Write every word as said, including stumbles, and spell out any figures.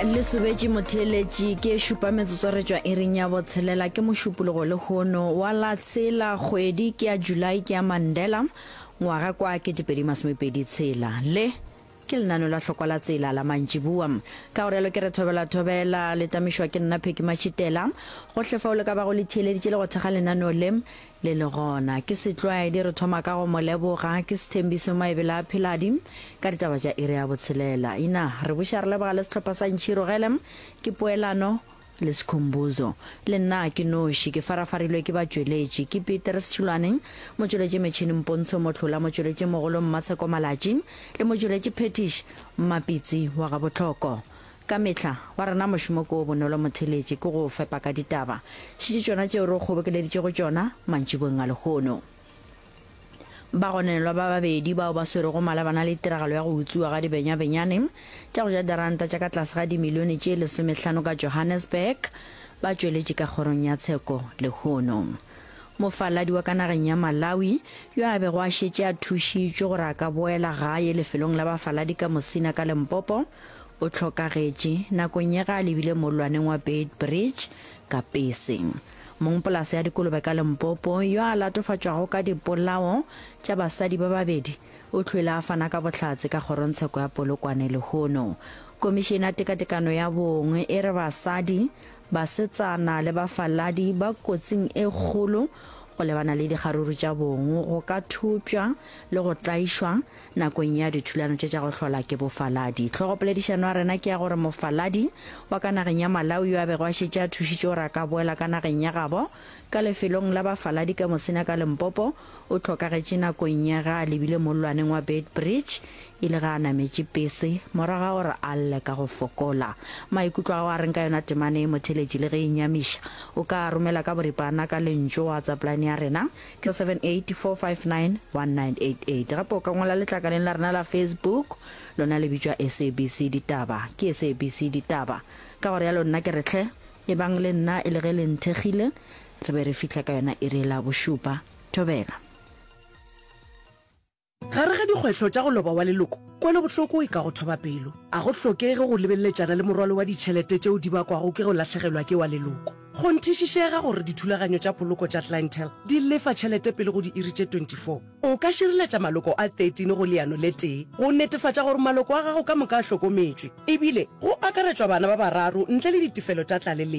Le sobetše motheeletši ke e šupa metsotso re tšwa iring ya botshelela ke mošupologo lehono wa la tshela kgwedi ke ya July ke ya Mandela ngwaga kwa ketepedi masomepedi tshela le ke lenano la hlokwa la tsela la mantšiboa ka go rialo ke re thobela thobela le tamišwa ke nna Pheki Matšhitela gohle fao le ka bago le theeleditše le go thekga lenaneo le le le gona. Ke setlwaedi re thoma ka go mo leboga, ke Sthembiso Maebela a Pheladi ka ditaba tša iri ya botshelela. Ina, re buša re leboga le sehlopha sa Ntšhirogele, ke Poelano le Skhumbuzo. Le nna ke noši, ke farafarilwe ke batšweletši, ke Petrus Tšhilwane, motšweletši metšhini Mpontsho Mohlola, motšweletši mogolo Mmatsheko Malatši le motšweletši Phetiš Mmapitsi wa Gabohloko. Ka mehla, wa rena mošomo ke o bonolo motheeletši, ke go o fepa ka ditaba. Šetše tšona tšeo re o kgobokeleditšego tšona mantšiboeng a lehono. Bagononelwa ba babedi bao ba swerwego malebana le tiragalo ya go utswiwa ga dibenyabenyane tša go ja diranta tša ka tlase ga dimilione tše lesomehlano ka Johannesburg ba tšweletše ka kgorong ya tsheko lehono. Mofaladi wa ka nageng ya Malawi yo a bego a šetše a thušitšwe gore a ka boela gae lefelong la bafaladi ka Musina ka Limpopo o hlokagetše nakong ye ge a lebile mollwaneng wa Beitbridge ka pese. Mongpolase ya dikolobe ka Limpopo yo a latofatšwago ka dipolao tša basadi ba babedi o hlwele a fana ka bohlatse ka kgorongtsheko ya Polokwane lehono. Komišene ya Tekatekano ya Bong e re basadi, basetsana le bafaladi ba kotsing e kgolo go lebana le dikgaruru tša bong, go ka thopša le go tlaišwa nakong ya dithulano tše tša go hlola ke bofaladi. Hlogopoledišano ya rena ke ya gore mofaladi wa ka nageng ya Malawi yo a bego a šetše a thušitšwe gore a ka boela ka nageng ya gabo ka lefelong la bafaladi ka Musina ka Limpopo o hlokagetše nakong ya ge a lebile mollwaneng wa Beitbridge e le ge a nametše pese morago ga gore a lle ka go fokola. Maikutlo a gago a reng ka yona temana ye motheeletši le ge e nyamiša? O ka a romela ka boripana ka lentšu WhatsApp line ya rena ke seven eight four five nine one nine eight eight. Gape o ka ngwala letlakaleng la rena la Facebook, lona le bitšwa SABC Ditaba. Ke SABC Ditaba. Ka go realo nna ke re hle, ebang le nna e le ge le nthekgile, re be re fihla ka yona iri la bošupa. Thobela. Gare ga dikgwehlo tša go loba wa leloko, kwelobohloko e ka go thoba pelo. A go hlokege go lebeleletšana le morwalo wa ditšhelete tšeo di bakwago ke go lahlegelwa ke wa leloko. Kgonthišišega gore dithulaganyo tša poloko tša Clientele di lefa tšhelete pele go diiri tše twenty four. O ka šireletša maloko a thirteen go leano le tee go netefatša gore maloko a gago ka moka a hlokometšwe, ebile go akaretšwa bana ba bararo ntle le ditefelo tša tlaleletšo.